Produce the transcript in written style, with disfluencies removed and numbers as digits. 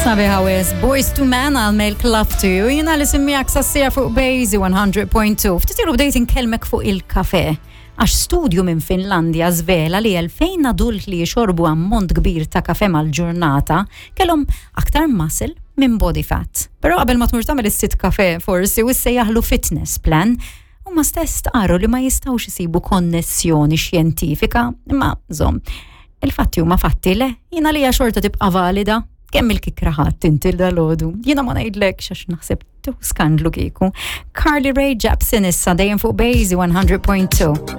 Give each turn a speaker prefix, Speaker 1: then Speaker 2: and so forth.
Speaker 1: Sabiħa wis, Boys to Men għal Make Love to You, jina li simmiegħek sassija fuq Bazy 100.2. Ftit ilu bdejt inkellmek fuq il-kafe. Għax studju minn Finlandja żvela li 2000 adult li jixorbu ammont kbir ta' kafe mal-ġurnata kellhom aktar muscle minn body fat. Però qabel ma tmur tagħmel is-sit kafe forsi u ssejjaħlu fitness plan, huma stess stqarru li ma jistgħux isibu konnessjoni xjentifika, imma żomm, il-fatti huma fatti le, jiena li xorta tibqa' valida. Kemm il-kikra ħadd inti dal-għodu? Jiena ma ngħidlekx għax naħseb tu skandlu kieku. Carly Rae Jepsen issa dejjem fuq Bazy 100.2.